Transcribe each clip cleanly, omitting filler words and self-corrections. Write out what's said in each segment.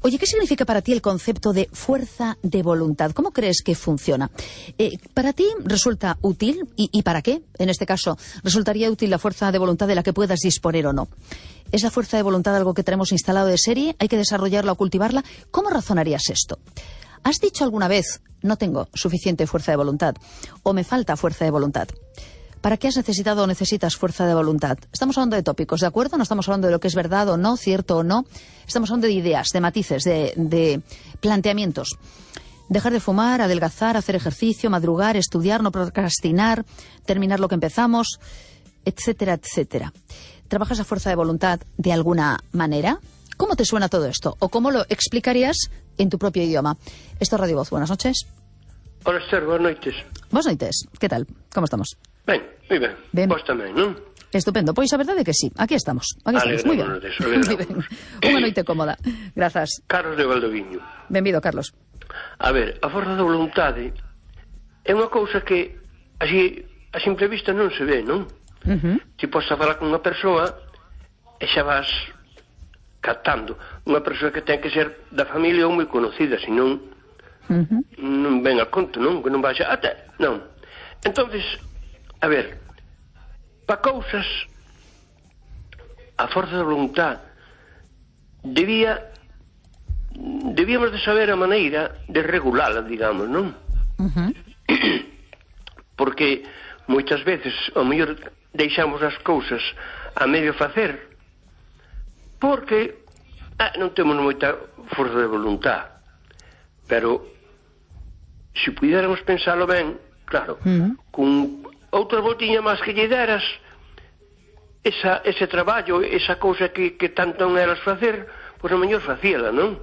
Oye, ¿qué significa para ti el concepto de fuerza de voluntad? ¿Cómo crees que funciona? ¿Para ti resulta útil? ¿Y para qué? En este caso, ¿resultaría útil la fuerza de voluntad de la que puedas disponer o no? ¿Es la fuerza de voluntad algo que tenemos instalado de serie? ¿Hay que desarrollarla o cultivarla? ¿Cómo razonarías esto? ¿Has dicho alguna vez, no tengo suficiente fuerza de voluntad, o me falta fuerza de voluntad? ¿Para qué has necesitado o necesitas fuerza de voluntad? Estamos hablando de tópicos, ¿de acuerdo? No estamos hablando de lo que es verdad o no, cierto o no. Estamos hablando de ideas, de matices, de planteamientos. Dejar de fumar, adelgazar, hacer ejercicio, madrugar, estudiar, no procrastinar, terminar lo que empezamos, etcétera, etcétera. ¿Trabajas la fuerza de voluntad de alguna manera? ¿Cómo te suena todo esto? ¿O cómo lo explicarías en tu propio idioma? Esto es Radio Voz. Buenas noches. Hola, Esther. Buenas noites. Buenas noites. ¿Qué tal? ¿Cómo estamos? Ben, moi ben. Ben. Vos tamén, non? Estupendo. Pois a verdade é que sí. Aquí estamos. Moi ben. Moi ben. Unha noite cómoda. Grazas. Carlos de Valdoviño. Benvido, Carlos. A ver, a forza da voluntade é unha cousa que así a simple vista non se ve, non? Ti podes falar con unha persoa e xa vas captando. Unha persoa que ten que ser da familia ou moi conocida, senón non ven a conto, non? Que non vai a... non. Entonces, a ver, para cousas a forza da voluntad debíamos de saber a maneira de regulala, digamos, non? Porque moitas veces ao mellor deixamos as cousas a medio facer porque non temos moita forza de voluntad, pero se pudiéramos pensalo ben, claro, con outra voltiña máis que lle deras ese traballo, esa cousa que tanto non eras facer, pois a mellor facíala, non?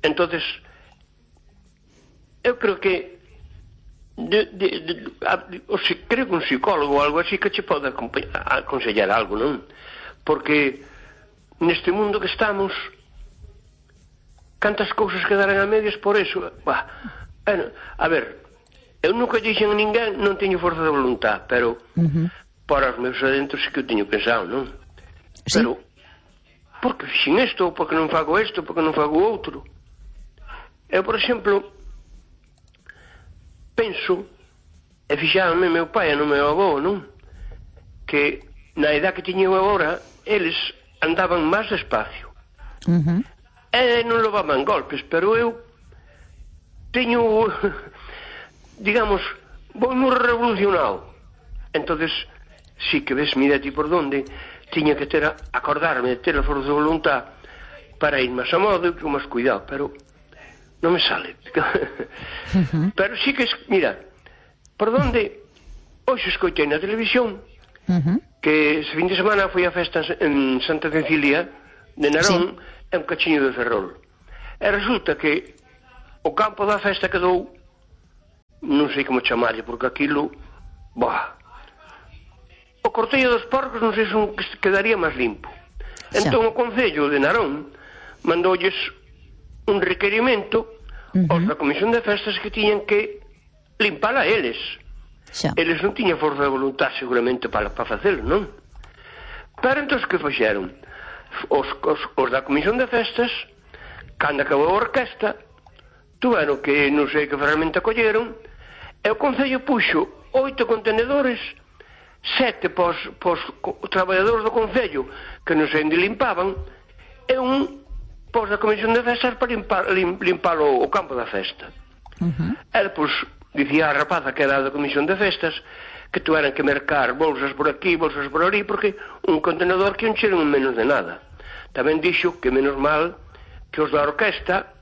Entonces eu creo que creo que un psicólogo ou algo así que che pode aconsellar algo, non? Porque neste mundo que estamos cantas cousas quedaran a medias por eso. A ver, eu nunca dixen a ninguén non teño forza de voluntad, pero para os meus adentros sí que eu teño pensado, non? ¿Sí? Pero porque fixen isto, porque non fago isto, porque non fago outro. Eu, por exemplo, penso, e fixáronme meu pai e no meu avó, non? Que na edad que tiño agora, eles andaban máis despacio. E non levaban golpes, pero eu teño, digamos, vou moi revolucionado. Entonces, sí que ves, mira ti por donde, tiña que acordarme de ter a forza de voluntad para ir máis a modo e con máis cuidado, pero non me sale. Pero sí que, mira, por donde hoxe escoitei na televisión que ese fin de semana foi a festa en Santa Cecilia de Narón, é un cachiño de Ferrol. E resulta que o campo da festa quedou, non sei como chamarlle, porque aquilo, o cortello dos porcos non sei se quedaría máis limpo. Entón o Concello de Narón mandoulles un requerimento aos da Comisión de Festas que tiñan que limpala eles. Eles non tiñan forza de voluntad seguramente para facelo, non? Pero entón que fixeron? Os da Comisión de Festas, cando acabou a orquesta, tuveron que non sei que ferramenta colleron, e o Concello puxo 8 contenedores, 7 pos traballadores do Concello que non sei onde limpaban, e un pos da Comisión de Festas para limpar o campo da festa. E depois dicía a rapaza que era da Comisión de Festas que tuveran que mercar bolsas por aquí, bolsas por ali, porque un contenedor que un cheiro menos de nada. Tamén dixo que menos mal que os da orquesta,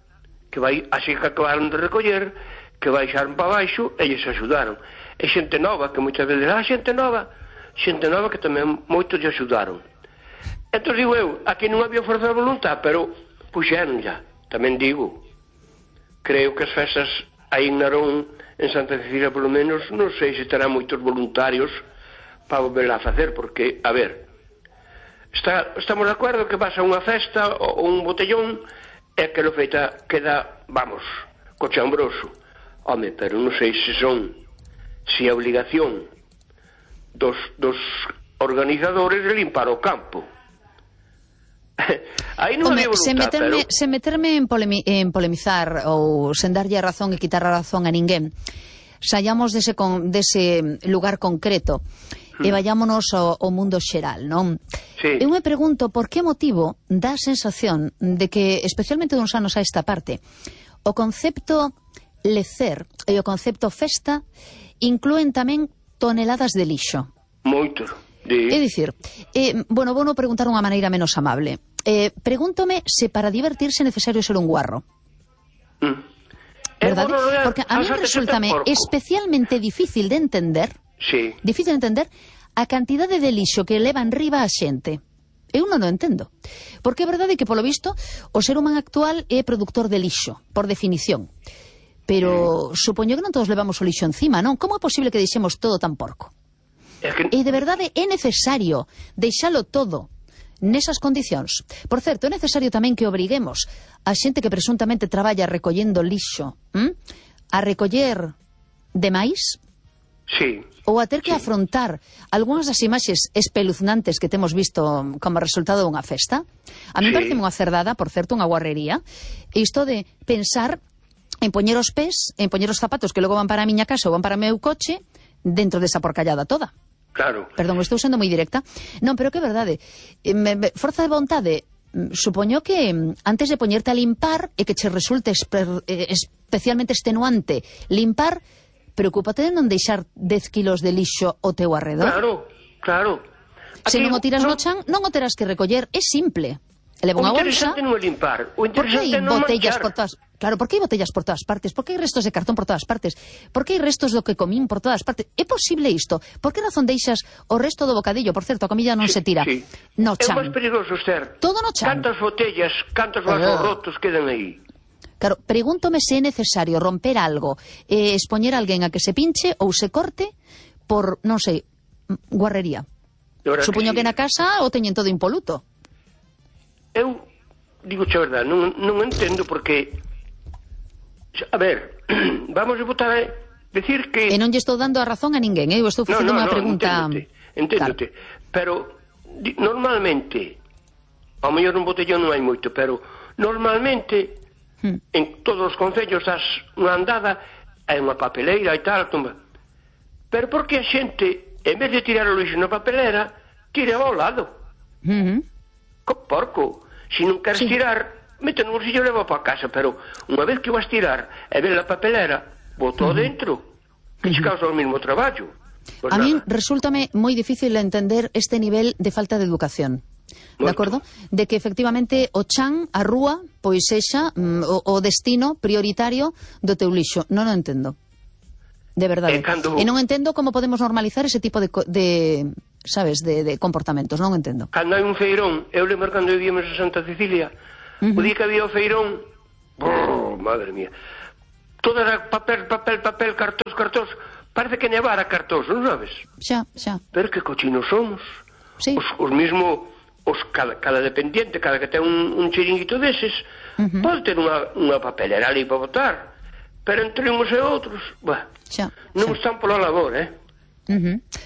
que vai así que acabaron de recoller, que baixaron para baixo e lles axudaron. E xente nova, que moitas veces xente nova que tamén moitos lle axudaron. Entón digo eu, aquí non había forza de voluntad, pero puxeron ya. Tamén digo, creo que as festas aí en Narón, en Santa Cecilia polo menos, non sei se terán moitos voluntarios para volver a facer, porque, a ver, estamos de acordo que vas a unha festa ou un botellón e que lo feita queda, vamos, cochambroso. Home, pero non sei se a obligación dos organizadores de limpar o campo. A Aí non había voluntad, sen meterme en polemizar ou sen darlle a razón e quitar a razón a ninguén, saíamos dese lugar concreto e vayámonos ao mundo xeral, non? Sí. Eu me pregunto por que motivo dá a sensación de que, especialmente duns anos a esta parte, o concepto lecer e o concepto festa inclúen tamén toneladas de lixo. Moito. É dicir, bueno, vou non preguntar unha maneira menos amable. Pregúntome se para divertirse é necesario ser un guarro. ¿Verdad? Porque a mí resultame especialmente difícil de entender, a cantidade de lixo que leva en riba a xente. Eu non o entendo. Porque é verdade que, polo visto, o ser humano actual é produtor de lixo, por definición. Pero supoño que non todos levamos o lixo encima, non? Como é posible que deixemos todo tan porco? E de verdade é necesario deixalo todo nesas condicións. Por certo, é necesario tamén que obriguemos a xente que presuntamente traballa recollendo lixo a recoller demais? Sí. Ou a ter que afrontar algunhas das imaxes espeluznantes que temos visto como resultado dunha festa? A mí parece unha cerdada, por certo, unha guarrería, isto de pensar en poñer os pés, en poñer os zapatos que logo van para a miña casa ou van para o meu coche dentro desa porcallada toda. Claro. Perdón, estou sendo moi directa. Non, pero que é verdade. Forza de vontade, supoño que antes de poñerte a limpar e que che resulte especialmente extenuante limpar, preocúpate de non deixar 10 kilos de lixo ao teu arredor. Claro. Se non o tiras no chan, non o terás que recoller. É simple. Leva unha bolsa. O interesante non é limpar. O interesante é non manchar. Claro, por que hai botellas por todas partes? Por que hai restos de cartón por todas partes? Por que hai restos do que comín por todas partes? É posible isto? Por que razón deixas o resto do bocadillo? Por certo, a comida non se tira. No chan. É máis perigoso, Esther. Todo no chan. Cantas botellas, cantos vasos rotos quedan aí. Claro, pregúntome se é necesario romper algo, expoñer a alguén a que se pinche ou se corte por, non sei, guarrería. Supoño que na casa o teñen todo impoluto. Eu digo a verdade, non entendo porque, a ver, vamos a botar a decir que... E non lle estou dando a razón a ninguén, eu estou facendo unha pregunta... Enténdote, pero normalmente, ao mellor un botellón non hai moito, pero normalmente en todos os concellos das unha andada hai unha papeleira e tal, tumba. Pero por que a xente, en vez de tirar o lixo na papelera, tira ao lado? Co porco. Se non queres tirar, mete no bolsillo e leva para casa, pero unha vez que vas tirar e ver a papelera, botou dentro, que che causa o mesmo traballo. Pues a mí resúltame moi difícil entender este nivel de falta de educación. De acordo? De que efectivamente o chan, a rúa, pois sexa o destino prioritario do teu lixo. Non o entendo. De verdade. E non entendo como podemos normalizar ese tipo de sabes, de comportamentos. Non entendo. Cando hai un feirón, eu lembro cando vivíamos en Santa Cecilia, o día que había o feirón, madre mía, todo era papel, cartós, parece que nevara cartós, non sabes? Xa. Pero que cochinos somos. Sí. Os mismo, cada dependiente, cada que ten un chiringuito deses, pode ter unha papelera ali para botar, pero entre uns e outros, non están pola labor,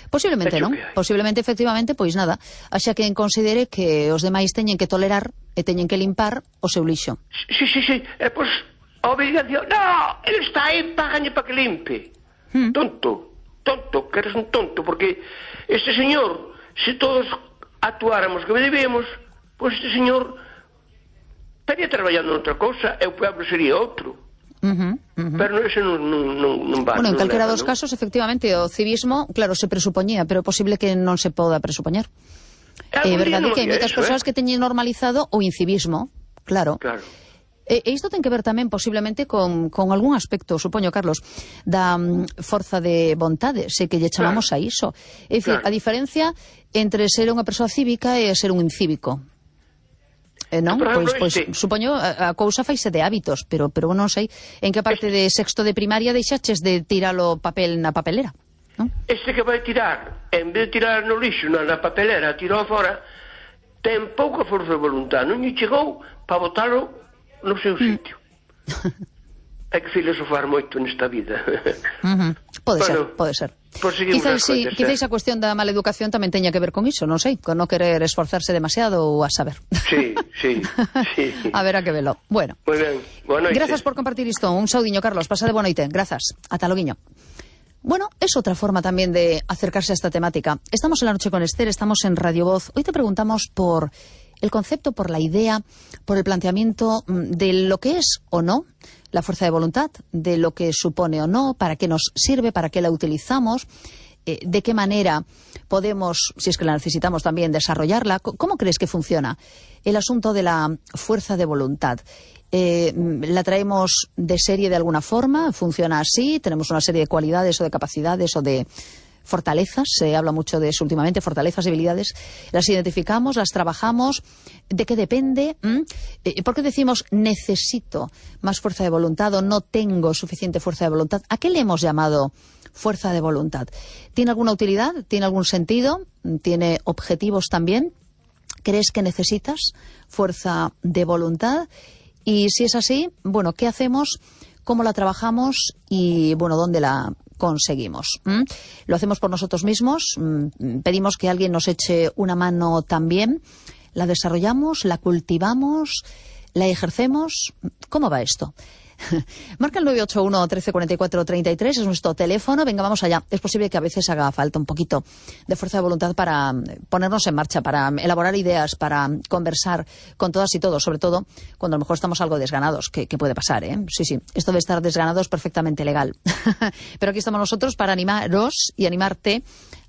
Posiblemente non. Posiblemente, efectivamente, pois nada, xa que considere que os demais teñen que tolerar e teñen que limpar o seu lixo. Sí. E pois a obrigación, no, ele está aí, págalle para que limpe. Tonto, que eres un tonto, porque este señor, se todos actuáramos que debemos, pois este señor estaría traballando noutra cousa e o pueblo sería outro. Pero ese non va. Bueno, en calquera dos casos, efectivamente, o civismo, claro, se presupoñía, pero é posible que non se poda presupoñer. É verdade que hai moitas persoas que teñen normalizado o incivismo, claro. E isto ten que ver tamén posiblemente con algún aspecto, supoño, Carlos, da forza de vontade, se que lle chamamos a iso. É dicir, a diferencia entre ser unha persoa cívica e ser un incívico. Non? Pois supoño a cousa faise de hábitos, pero non sei en que parte de sexto de primaria deixaches de tirar o papel na papelera, non? Este que vai tirar, en vez de tirar no lixo na papelera, tirou fora, ten pouca forza de voluntad, non lle chegou para botalo no seu sitio. Hai que filosofar moito nesta vida. Pode ser. Pois seguimos as coitas. Quizá esa cuestión da mala educación tamén teña que ver con iso, non sei, con non querer esforzarse demasiado ou a saber. Sí. A ver a que velo. Bueno. Moi ben, boa noite. Grazas por compartir isto. Un saudiño, Carlos. Pasade boa noite. Grazas. Ata loguiño. Bueno, es otra forma también de acercarse a esta temática. Estamos en La Noche con Esther, estamos en Radio Voz. Hoy te preguntamos por el concepto, por la idea, por el planteamiento de lo que es o no la fuerza de voluntad, de lo que supone o no, para qué nos sirve, para qué la utilizamos, de qué manera podemos, si es que la necesitamos también, desarrollarla. ¿Cómo crees que funciona el asunto de la fuerza de voluntad? ¿La traemos de serie de alguna forma? ¿Funciona así? ¿Tenemos una serie de cualidades o de capacidades o de fortalezas? Se habla mucho de eso últimamente, fortalezas, debilidades. ¿Las identificamos? ¿Las trabajamos? ¿De qué depende? ¿Por qué decimos necesito más fuerza de voluntad o no tengo suficiente fuerza de voluntad? ¿A qué le hemos llamado fuerza de voluntad? ¿Tiene alguna utilidad? ¿Tiene algún sentido? ¿Tiene objetivos también? ¿Crees que necesitas fuerza de voluntad? Y si es así, bueno, ¿qué hacemos? ¿Cómo la trabajamos? Y, bueno, ¿dónde la conseguimos? ¿Lo hacemos por nosotros mismos? ¿Pedimos que alguien nos eche una mano también? ¿La desarrollamos? ¿La cultivamos? ¿La ejercemos? ¿Cómo va esto? Marca el 981 13 44 33, es nuestro teléfono. Venga, vamos allá. Es posible que a veces haga falta un poquito de fuerza de voluntad para ponernos en marcha, para elaborar ideas, para conversar con todas y todos, sobre todo cuando a lo mejor estamos algo desganados, que puede pasar, ¿eh? Sí, esto de estar desganado es perfectamente legal. Pero aquí estamos nosotros para animaros y animarte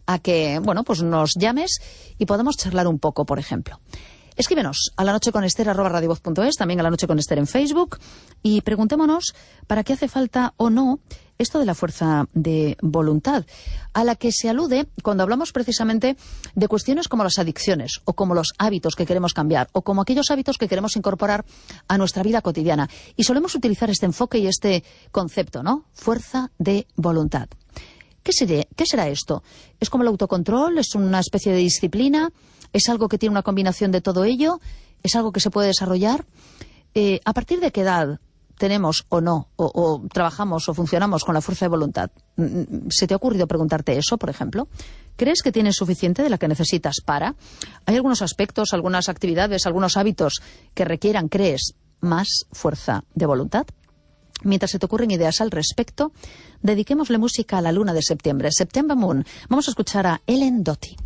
a que, bueno, pues nos llames y podamos charlar un poco, por ejemplo. Escríbenos a lanocheconester@radiovoz.es, también a La Noche con Esther en Facebook, y preguntémonos para qué hace falta o no esto de la fuerza de voluntad, a la que se alude cuando hablamos precisamente de cuestiones como las adicciones, o como los hábitos que queremos cambiar, o como aquellos hábitos que queremos incorporar a nuestra vida cotidiana. Y solemos utilizar este enfoque y este concepto, ¿no? Fuerza de voluntad. ¿Qué será esto? ¿Es como el autocontrol? ¿Es una especie de disciplina? ¿Es algo que tiene una combinación de todo ello? ¿Es algo que se puede desarrollar? ¿A partir de qué edad tenemos o no, o trabajamos o funcionamos con la fuerza de voluntad? ¿Se te ha ocurrido preguntarte eso, por ejemplo? ¿Crees que tienes suficiente de la que necesitas para? ¿Hay algunos aspectos, algunas actividades, algunos hábitos que requieran, crees, más fuerza de voluntad? Mientras se te ocurren ideas al respecto, dediquémosle música a la luna de septiembre, September Moon. Vamos a escuchar a Ellen Doty.